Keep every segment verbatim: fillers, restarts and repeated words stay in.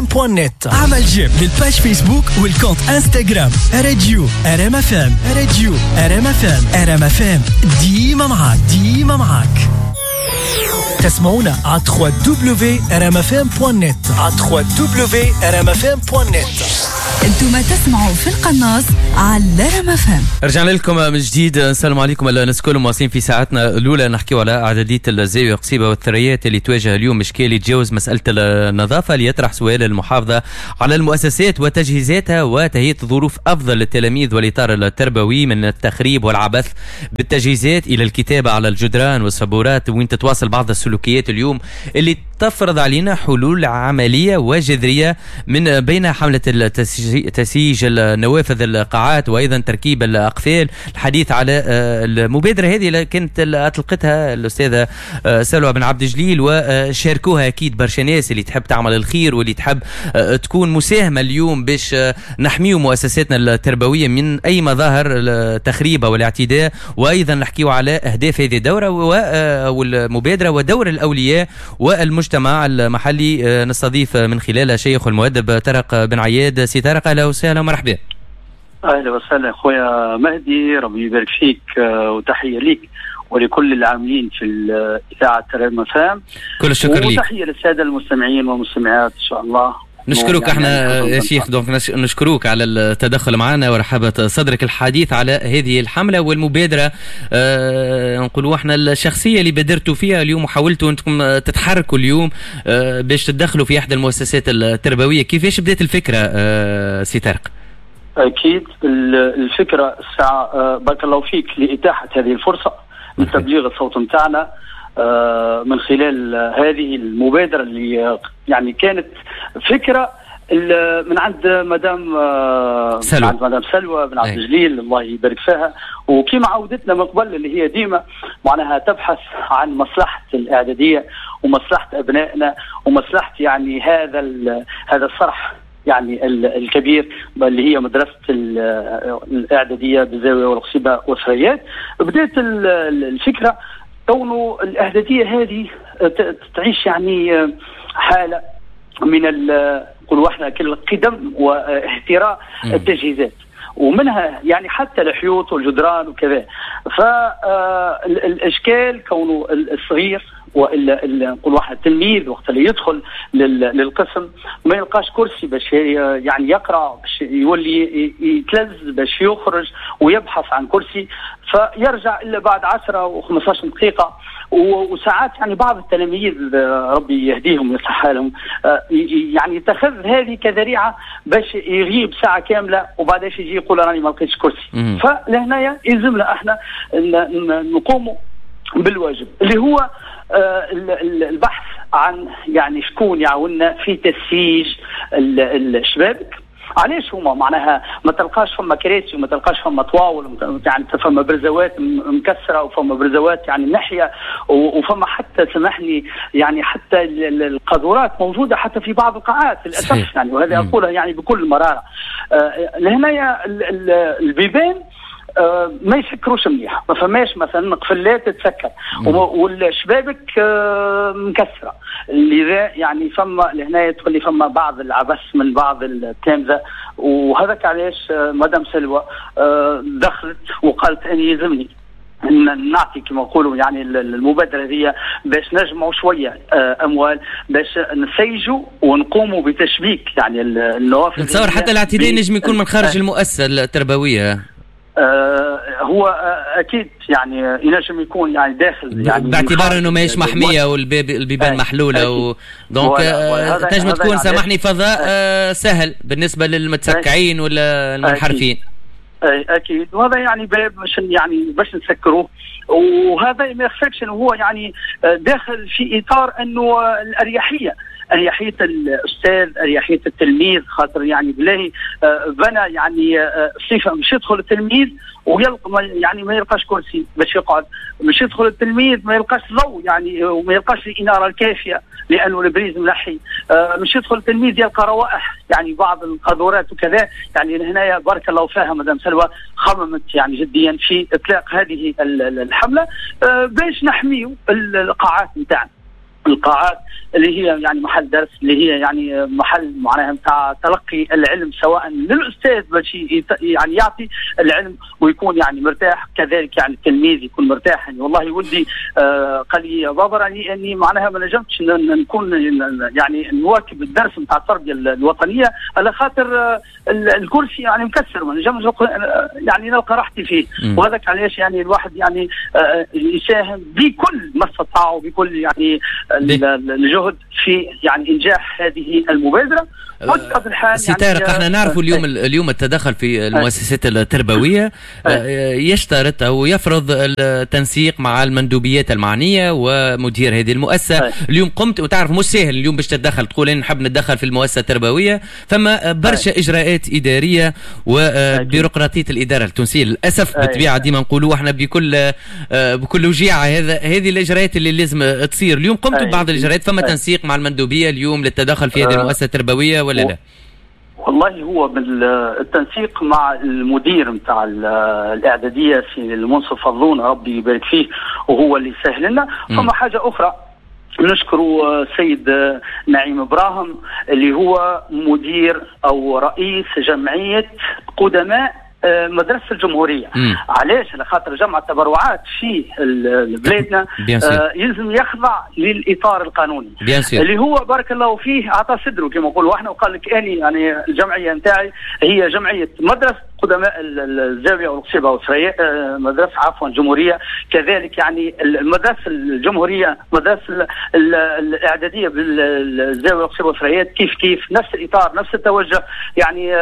point net. اعمل j'aime لل page فيسبوك وال compte انستغرام راديو ار ام اف ام، راديو ار ام اف ام، ار ام اف ام ديما معاك، ديما معاك. تسمعونا على دبليو دبليو دبليو ار ام اف ام دوت نت، على دبليو دبليو دبليو ار ام اف ام دوت نت. انتم تسمعوا في القناص على رام اف ام. رجعنا لكم من جديد، السلام عليكم الناس الكل. مواصلين في ساعتنا الاولى نحكيو على اعدادية الزاوية قصيبه والثريات اللي تواجه اليوم اشكال يتجاوز مسالة النظافة، ليطرح سؤال المحافظة على المؤسسات وتجهيزاتها وتهيئه ظروف افضل للتلاميذ والاطار التربوي من التخريب والعبث بالتجهيزات الى الكتابة على الجدران والسبورات، وين تتواصل بعض السلوكيات اليوم اللي تفرض علينا حلول عملية وجذريه، من بين حمله تسييج النوافذ القاعات وايضا تركيب الاقفال. الحديث على المبادرة هذه اللي كانت اطلقتها الاستاذة سلوى بن عبد الجليل وشاركوها اكيد برشا ناس اللي تحب تعمل الخير واللي تحب تكون مساهمة اليوم باش نحميو مؤسساتنا التربوية من اي مظاهر التخريب او الاعتداء. وايضا نحكيو على اهداف هذه الدورة والمبادرة ودور الاولياء والمجتمع المحلي. نستضيف من خلالها شيخ المؤدب طارق بن عياد. سي طارق اهلا وسهلا ومرحبا. اهلا وسهلا خويا مهدي، ربي يبارك فيك وتحية ليك ولكل العاملين في اذاعة رام اف ام. كل الشكر ليك وتحية للسادة المستمعين والمستمعات ان شاء الله. نشكرك احنا يا شيخ، donc نشكروك على التدخل معنا ورحابة صدرك الحديث على هذه الحملة والمبادرة، اه نقولوا احنا الشخصية اللي بادرتوا فيها اليوم وحاولتوا انكم تتحركوا اليوم اه باش تدخلوا في احدى المؤسسات التربوية. كيفاش بدات الفكرة اه سي طارق؟ اكيد الفكرة الساعة بارك الله فيك لإتاحة هذه الفرصة لتبليغ الصوت نتاعنا من خلال هذه المبادرة اللي يعني كانت فكرة من عند مدام سلوى. من عند مدام سلوى بن عبد الجليل الله يبارك فيها، وكما عودتنا من قبل اللي هي ديما معناها تبحث عن مصلحة الإعدادية ومصلحة أبنائنا ومصلحة يعني هذا هذا الصرح يعني الكبير اللي هي مدرسة الإعدادية بالزاوية والقصيبة والثريات. بدأت الفكرة كونه الإعدادية هذه تعيش يعني حالة من نقولوا احنا كل قدم واهتراء التجهيزات، ومنها يعني حتى الحيوط والجدران وكذا. فالإشكال كونه الصغير والا نقول واحد التلميذ وقت اللي يدخل للقسم ما يلقاش كرسي باش يعني يقرا، باش يولي يتلز باش يخرج ويبحث عن كرسي، فيرجع الا بعد عشرة وخمسطاش دقيقة. وساعات يعني بعض التلاميذ ربي يهديهم ويصلح حالهم يعني يتخذ هذه كذريعه باش يغيب ساعة كاملة وبعدش يجي يقول راني ما لقيتش كرسي. فلهنايا يلزمنا احنا نقوموا بالواجب اللي هو البحث عن يعني شكون يعاوننا في تسييج الشبابك. علاش هما معناها ما تلقاش فما كراسي وما تلقاش فما طواول، يعني فما برزوات مكسرة وفما برزوات يعني ناحية، وفما حتى سامحني يعني حتى القاذورات موجودة حتى في بعض القاعات للاسف يعني، وهذا اقولها يعني بكل مرارة. لهنايا البيبان آه ما يسكروش مليح، ما فماش مثلا قفلات تتسكر والشبابك آه مكسرة، لذا يعني فما لهنا تولي فما بعض العبث من بعض التلامذه. وهذاك علاش آه مدام سلوى آه دخلت وقالت اني يلزمني نعطي كما نقولوا يعني المبادرة هي باش نجمعوا شوية اموال باش نسيجوا ونقوموا بتشبيك يعني النوافذ. نتصور حتى الاعتداء نجم يكون من خارج المؤسسة التربوية. آه هو اكيد يعني ينجم يكون يعني داخل يعني باعتبار انه ماهيش محمية والباب البيبان محلولة و donc تنجم تكون سامحني فضاء آه سهل بالنسبة للمتسكعين ولا المنحرفين. اكيد، وهذا يعني باب باش يعني باش نسكروه، وهذا ما يخفاكش انه هو يعني داخل في اطار انه الاريحيه، اريحية الاستاذ، اريحية التلميذ، خاطر يعني بالله بنى يعني صفة مش يدخل التلميذ ويلقى يعني ما يلقاش كرسي باش يقعد، مش يدخل التلميذ ما يلقاش ضوء يعني وما يلقاش الاناره الكافيه لانه ال prise ملحي، مش يدخل التلميذ يلقى روائح يعني بعض القاذورات وكذا. يعني هنايا بارك الله فيها مدام سلوى خممت يعني جديا في اطلاق هذه الحملة باش نحميو القاعات نتاعنا. القاعات اللي هي يعني محل درس، اللي هي يعني محل معناها نتاع تلقي العلم، سواء للاستاذ باش يعني يعطي العلم ويكون يعني مرتاح، كذلك يعني التلميذ يكون مرتاح. يعني والله ولدي آه قال لي يا بابا راني اني معناها ما نجمتش نكون يعني نواكب الدرس نتاع التربية الوطنية على خاطر آه الكرسي يعني مكسر، ما نجمش يعني نلقى راحتي فيه. وهذاك علاش يعني الواحد يعني آه يساهم بكل ما استطاع وبكل يعني الجهد في يعني انجاح هذه المبادرة. سي طارق، احنا نعرفوا اليوم اليوم التدخل في المؤسسات التربوية يشترط او يفرض التنسيق مع المندوبيات المعنية ومدير هذه المؤسسة. اليوم قمت وتعرف مش سهل اليوم باش تتدخل، تقول انا نحب نتدخل في المؤسسة التربوية، فما برشا اجراءات ادارية وبيروقراطيه الادارة التونسية للاسف بالطبيعة ديما نقولوا احنا بكل بكل وجيعه هذا هذه الاجراءات اللي لازم تصير. اليوم قمت ببعض الاجراءات، فما تنسيق مع المندوبيه اليوم للتدخل في هذه المؤسسة التربوية ولا لا؟ والله هو بالتنسيق مع المدير نتاع الاعدادية في المنصف فضلون ربي يبارك فيه وهو اللي سهل لنا. فما حاجة اخرى نشكر السيد نعيم ابراهيم اللي هو مدير او رئيس جمعية قدماء مدرسة الجمهورية. مم. علاش؟ على خاطر جمع التبرعات في بلادنا آه يلزم يخضع للإطار القانوني اللي هو بارك الله فيه أعطى صدره كما نقولوا احنا، وقال لك أني يعني الجمعية نتاعي هي جمعية مدرسة قدماء الزاوية والقصيبة والسرية، مدرسة عفوا الجمهورية، كذلك يعني المدرسة الجمهورية مدرسة الإعدادية بالزاوية والقصيبة والسريات كيف كيف نفس الإطار نفس التوجه، يعني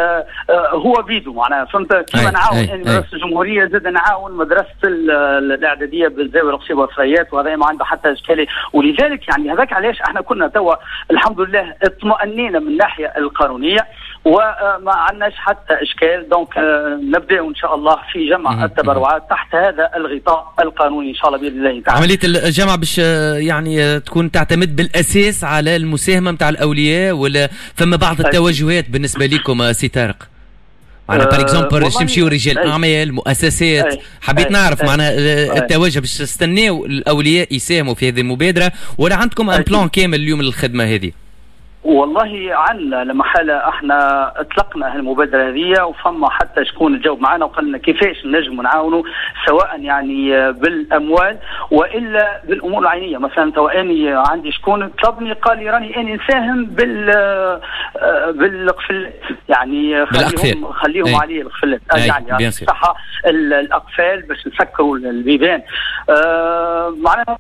هو بيدو معناها فهمت. كما نعاون يعني مدرسة الجمهورية زاد نعاون مدرسة الإعدادية بالزاوية والقصيبة والسريات، وهذا ما عنده حتى إشكالية. ولذلك يعني هذاك علاش احنا كنا توا الحمد لله اطمأنينا من الناحية القانونية وما عندناش حتى اشكال. donc نبدا ان شاء الله في جمع التبرعات تحت هذا الغطاء القانوني ان شاء الله باذن الله تعالى. عملية الجمع باش يعني تكون تعتمد بالاساس على المساهمة نتاع الاولياء، ولا فما بعض التوجهات بالنسبة لكم سي طارق؟ معناها par exemple تمشيو رجال اعمال مؤسسات، حبيت نعرف معناها التوجه باش تستناو الاولياء يساهموا في هذه المبادرة، ولا عندكم un plan كامل اليوم للخدمة هذه؟ والله عندنا لما حالة احنا اطلقنا هالمبادرة هذه، وفما حتى شكون جاوب معنا وقال لنا كيفاش نجم نعاونوا، سواء يعني بالاموال والا بالامور العينية. مثلا تو اني عندي شكون طلبني قال لي راني اني نساهم بال بالقفل، يعني خليهم خليهم عليه القفلات، يعني صح الاقفال باش نسكروا البيبان. اه معناها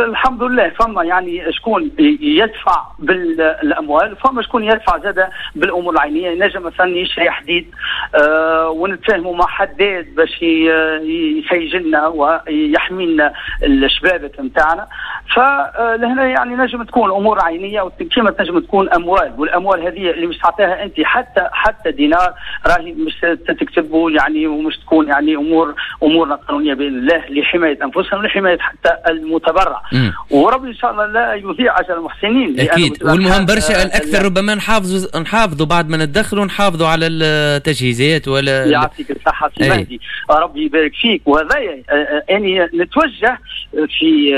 الحمد لله فما يعني شكون يدفع بالاموال، فما شكون يدفع زاده بالامور العينية. ينجم مثلا يشري حديد آه ونتفاهموا مع حداد باش يسجلنا ويحمينا الشبابك نتاعنا. فلهنا يعني نجم تكون امور عينيه وكما تنجم تكون اموال، والاموال هذه اللي مش تعطيها انت حتى حتى دينار راهي مش تكتبه يعني، ومش تكون يعني امور امورنا قانونية باذن الله لحماية انفسنا ولحمايه حتى المتبرع. وربي ان شاء الله لا يضيع اجر المحسنين. اكيد، والمهم برشا الاكثر ربما نحافظوا نحافظوا بعد ما ندخلوا نحافظوا على التجهيزات ولا يعطيك الصحة سي مهدي، ربي يبارك فيك. وهذا اني نتوجه في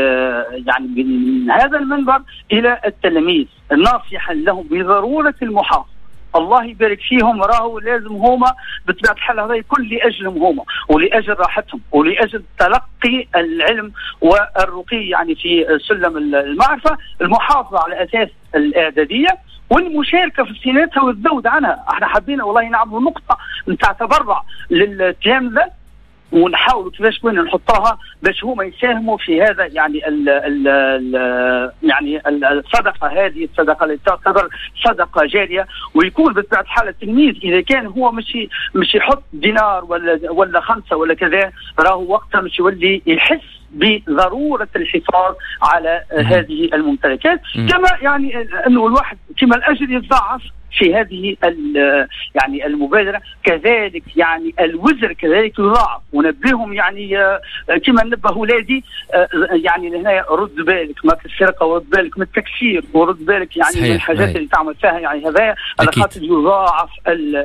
يعني من هذا المنبر الى التلاميذ ناصحا لهم بضرورة المحافظة. الله يبارك فيهم، راهو لازم هما بطبيعة الحال هذا يكون لاجلهم هما ولاجل راحتهم ولاجل تلقي العلم والرقي يعني في سلم المعرفة، المحافظة على اساس الاعدادية والمشاركة في صيانتها والذود عنها. احنا حبينا والله نعملوا نقطة نتاع تبرع للتلامذه ونحاولوا كيفاش وين نحطوها باش هما يساهموا في هذا يعني ال ال ال يعني الصدقة هذه، الصدقة اللي تعتبر صدقه جارية. ويكون بطبيعة الحال التلميذ اذا كان هو مش مش يحط دينار ولا ولا خمسة ولا كذا، راهو وقتها مش يولي يحس بضرورة الحفاظ على هذه الممتلكات. كما يعني انه الواحد كما الاجر يتضاعف في هذه يعني المبادرة، كذلك يعني الوزر كذلك يضاعف. ونبههم يعني كما نبه اولادي يعني لهنا رد بالك ما في السرقة، ورد بالك من التكسير، ورد بالك يعني من الحاجات اللي تعمل فيها، يعني هذا على خاطر يضاعف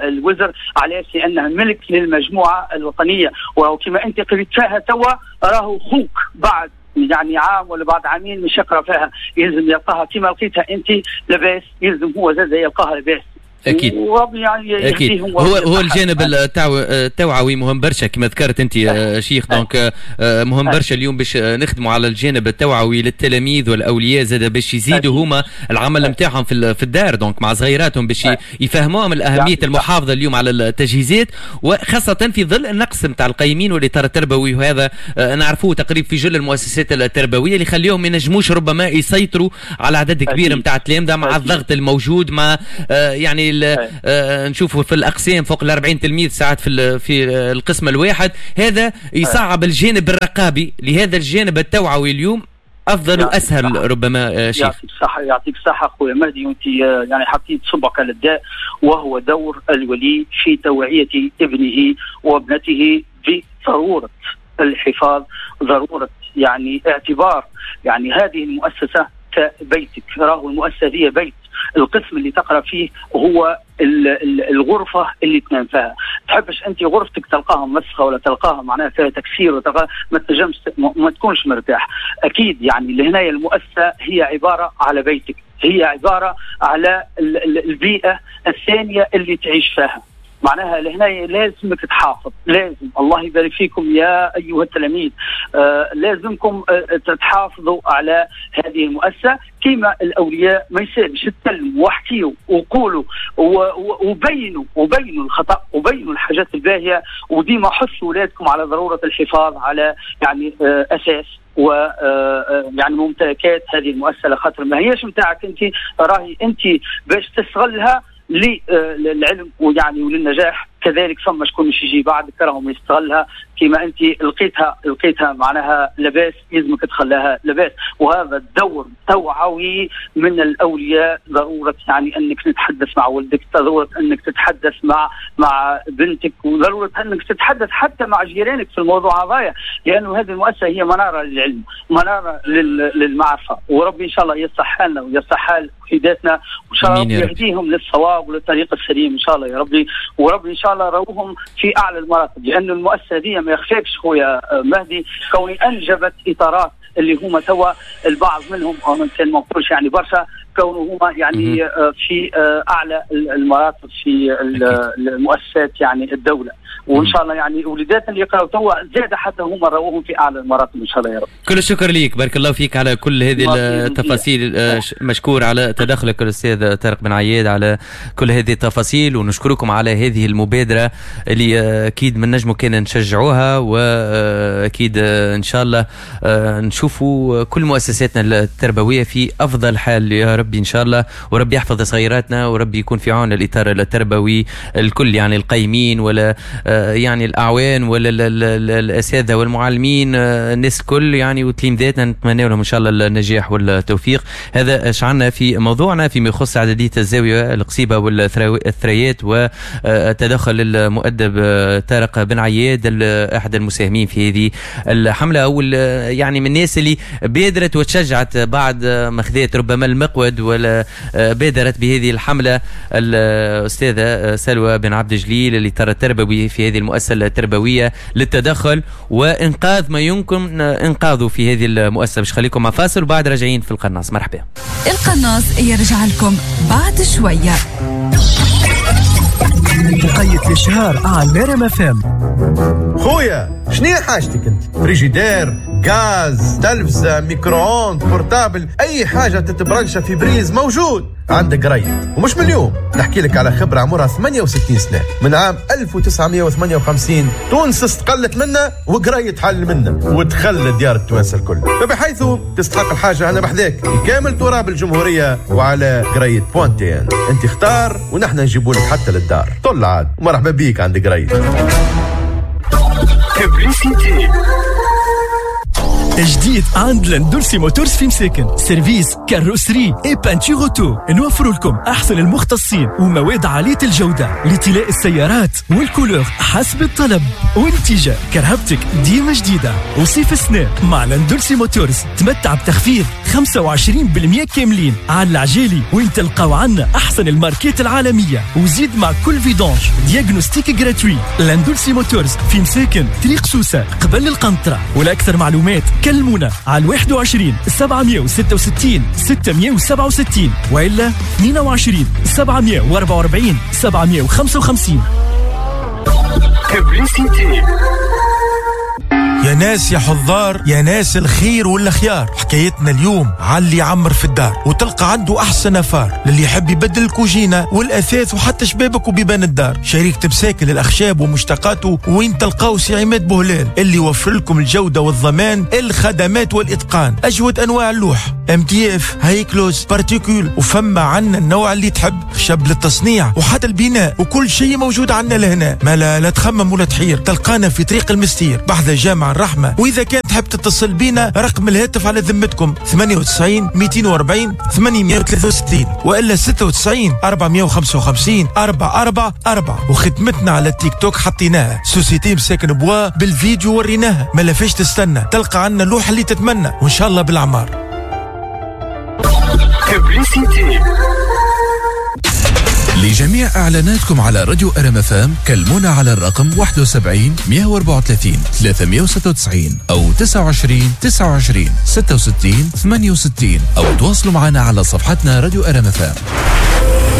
الوزر. علاش؟ لانها ملك للمجموعة الوطنية، وكما انت قريت فيها توا راهو خوك بعد يعني عام ولا بعد عامين مش يقرا فيها، يلزم يلقاها كما لقيتها انت لاباس، يلزم هو زاد يلقاها لاباس. اكيد يعني اكيد هو هو الجانب التوعوي مهم برشا كما ذكرت انت شيخ، donc مهم برشا اليوم باش نخدموا على الجانب التوعوي للتلاميذ والاولياء زاد باش يزيدوا هما العمل نتاعهم في في الدار، donc مع صغيراتهم باش يفهموهم الاهمية المحافظة اليوم على التجهيزات، وخاصة في ظل النقص نتاع القيمين والاطار التربوي، وهذا نعرفوه تقريبا في جل المؤسسات التربوية اللي يخليهم ما ينجموش ربما يسيطروا على عدد كبير نتاع التلامذه مع الضغط الموجود، مع يعني آه نشوفوا في الاقسام فوق ال أربعين تلميذ ساعات في في القسم الواحد، هذا يصعب الجانب الرقابي. لهذا الجانب التوعوي اليوم افضل واسهل ربما. شيخ يعطيك الصحة، يعطيك الصحة خويا مهدي، وانت يعني حطيت صبعك على الداء، وهو دور الولي في توعيه ابنه وابنته بضرورة الحفاظ، ضرورة يعني اعتبار يعني هذه المؤسسة كبيتك. راهو المؤسسة هي بيت، القسم اللي تقرا فيه هو الغرفة اللي تنام فيها. تحبش انت غرفتك تلقاها مسخه ولا تلقاها معناها فيها تكسير وتلقاها ما تنجمش ما تكونش مرتاح. اكيد يعني لهنا المؤسسة هي عبارة على بيتك، هي عبارة على البيئة الثانية اللي تعيش فيها. معناها لهنا لازمك تحافظ، لازم الله يبارك فيكم يا أيها التلاميذ، آه لازمكم آه تحافظوا على هذه المؤسسة كما الأولياء. ما يسالش تكلموا واحكيوا وقولوا وبينوا وبينوا الخطأ وبينوا الحاجات الباهية، وديما حثوا أولادكم على ضرورة الحفاظ على يعني آه أساس و يعني ممتلكات هذه المؤسسة، لخاطر ما هيش متاعك أنت، راهي أنت باش تستغلها للعلم ويعني وللنجاح. كذلك ثم شكون مش يجي بعدك راهم يستغلها كما انت لقيتها لقيتها معناها لباس، يلزمك تخليها لباس. وهذا الدور توعوي من الاولياء، ضرورة يعني انك تتحدث مع ولدك، ضرورة انك تتحدث مع مع بنتك، وضرورة انك تتحدث حتى مع جيرانك في الموضوع هذايا، لانه هذه المؤسسة هي منارة للعلم، منارة للمعرفة. وربي ان شاء الله يصلح حالنا ويصلح حال وليداتنا، وان شاء الله يهديهم للصواب وللطريق السليم ان شاء الله يا ربي. وربي ان شاء الله روهم في اعلى المراتب، لأن المؤسسة دي ما يخفيكش خويا مهدي كوني انجبت اطارات اللي هما توا البعض منهم او كان ما نقولش يعني برشا كونه هما يعني في اعلى المراتب في المؤسسات يعني الدولة. وان شاء الله يعني وليداتنا اللي يقراوا توا زاد حتى هما روهم في اعلى المراتب ان شاء الله يا رب. كل الشكر ليك، بارك الله فيك على كل هذه التفاصيل، مشكور على تدخلك الاستاذ طارق بن عياد على كل هذه التفاصيل، ونشكركم على هذه المبادرة اللي اكيد من نجمو كان نشجعوها، واكيد ان شاء الله نشوفوا كل مؤسساتنا التربوية في افضل حال يا ربي ان شاء الله، وربي يحفظ صغيراتنا، وربي يكون في عون الاطار التربوي الكل، يعني القايمين ولا يعني الاعوان ولا الاساتذة والمعلمين، الناس الكل يعني وتلامذاتنا، نتمنى لهم ان شاء الله النجاح والتوفيق. هذا شعلنا في موضوعنا فيما يخص عددية الزاوية القصيبه والثريات وتدخل المؤدب طارق بن عياد احد المساهمين في هذه الحملة، او يعني من الناس اللي بادرت وتشجعت بعد ما خذت ربما المقود ولا بادرت بهذه الحملة، الاستاذة سلوى بن عبد الجليل اللي ترى التربوي في هذه المؤسسة التربوية للتدخل وإنقاذ ما يمكن إنقاذه في هذه المؤسسة. باش خليكم مع فاصل وبعد راجعين في القناص. مرحبا. القناص يرجع لكم بعد شوية. تقيت الإشهار على آر إم إف إم. خويا شنو حاجتك انت؟ فريجيدير، غاز، تلفزة، micro-ondes، portable، اي حاجة تتبرنشة في prise موجود عندك قريب. ومش من اليوم نحكي لك على خبرة عمرها ثمانية وستين سنة، من عام ألف وتسعمية وثمانية وخمسين تونس استقلت منا وقريت حل منا ودخل ديار التوانسة الكل، فبحيث تستحق الحاجة أنا بحذاك في كامل تراب الجمهورية وعلى قريت بوانتين. انت اختار ونحن نجيبوا لك حتى للدار. طل عاد ومرحبا بيك عند قريت. تجديد عند لاندولسي موتورز في مساكن، service carrosserie et peinture auto. نوفر لكم احسن المختصين ومواد عالية الجودة لطلاء السيارات وال couleur حسب الطلب، ونتيجة كرهبتك ديما جديدة. وصيف السنة مع لاندولسي موتورز تمتع بتخفيض خمسة وعشرين بالمئة كاملين على العجالي، وين تلقاو عنا احسن الماركات العالمية، وزيد مع كل vidange diagnostic gratuit. لاندولسي موتورز في مساكن، طريق سوسة قبل القنطرة. ولاكثر معلومات كلمونا على واحد وعشرين سبعمية وستة وستين ستمية وسبعة وستين وإلا اثنين وعشرين سبعمية وأربعة وأربعين سبعمية وخمسة وخمسين. يا ناس يا حضار، يا ناس الخير والخيار، حكايتنا اليوم على اللي يعمر في الدار وتلقى عنده احسن affaire، للي يحب يبدل الكوجينه والاثاث وحتى شبابك وبيبان الدار. شريك مساكن للاخشاب ومشتقاته وين تلقاو سي عماد بوهلال اللي يوفر لكم الجودة والضمان، الخدمات والاتقان، اجود انواع اللوح، MDF، هايكلوز، particule، وفما عنا النوع اللي تحب، خشب للتصنيع وحتى البناء، وكل شيء موجود عنا لهنا. ما لا, لا تخمم ولا تحير، تلقانا في طريق المستير بحذا جامع الرحمة. وإذا كان تحب تتصل بينا رقم الهاتف على ذمتكم ثمانية وتسعين مئتين وأربعين ثمانمئة وثلاثة وستين وإلا ستة وتسعين أربعمئة وخمسة وخمسين أربعة أربعة أربعة. وخدمتنا على التيك توك حطيناها société مساكن bois بالفيديو وريناها، ما لفاش تستنى، تلقى عنا اللوحة اللي تتمنى وإن شاء الله بالأعمار. لجميع إعلاناتكم على راديو أر إم إف إم كلمونا على الرقم واحد وسبعين مئة وأربعة وثلاثين ثلاثمئة وستة وتسعين أو تسعة وعشرين تسعة وعشرين ستة وستين ثمانية وستين أو تواصلوا معنا على صفحتنا راديو أر إم إف إم.